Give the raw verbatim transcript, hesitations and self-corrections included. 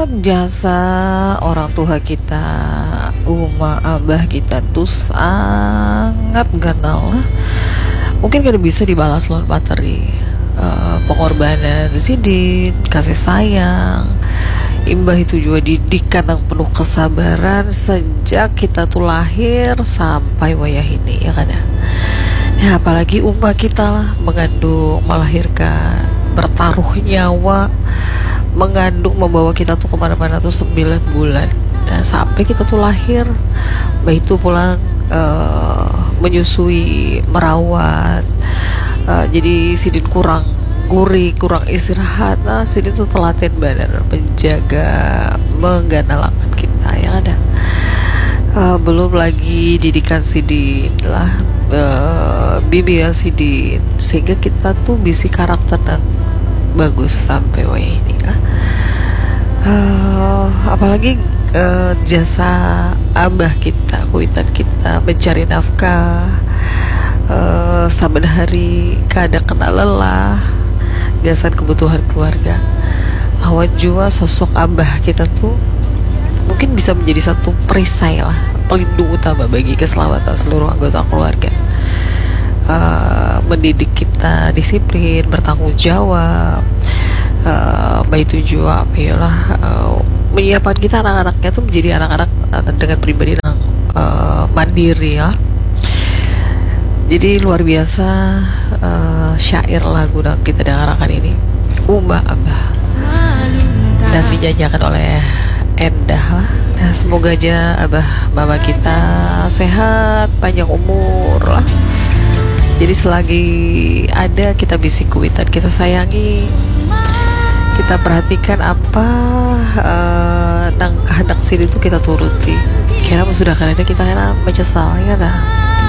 Jasa orang tuha kita, uma abah kita tu sangat ganal lah. Mungkin kada bisa dibalas lawan materi. Eh, pengorbanan sidin, kasih sayang, imbah itu jua didikan nang penuh kesabaran sejak kita tu lahir sampai wayah ini, ya kada? Ya, apalagi uma kita lah, mengandung, melahirkan, bertaruh nyawa, mengandung, membawa kita tuh kemana-mana tuh sembilan bulan. Nah, sampai kita tuh lahir, bah itu pulang, eh, menyusui, merawat. Eh, jadi sidin kurang guri, kurang istirahat. Nah, sidin tuh telaten banar menjaga, mengganalakan kita, ya kada? Eh, belum lagi didikan sidin lah, eh, bimbingan sidin, sehingga kita tuh bisi karakter nang bagus sampai wayah ini lah. Eh, apalagi, eh, jasa abah kita, kuitan kita mencari nafkah, eh, saban hari kada kena lelah gasan kebutuhan keluarga. Lawan jua sosok abah kita tuh mungkin bisa menjadi satu perisai lah, pelindung utama bagi keselamatan seluruh anggota keluarga. Eh, mendidik kita disiplin, bertanggung jawab, eh, baitu jua apa ya lah, eh, menyiapkan kita anak-anaknya tuh menjadi anak-anak, eh, dengan pribadi yang, eh, mandiri ya. Jadi luar biasa, eh, syair lagu yang kita dengarkan ini, Uma Abah, dan dinyanyikan oleh Endah lah. Nah, semoga aja abah mama kita sehat, panjang umur lah. Jadi selagi ada kita bisi kuitan, kita sayangi, kita perhatikan apa, eh, nang kehendak sidin itu kita turuti. Kira sudah kada ada kita kena menyesal, ya dah.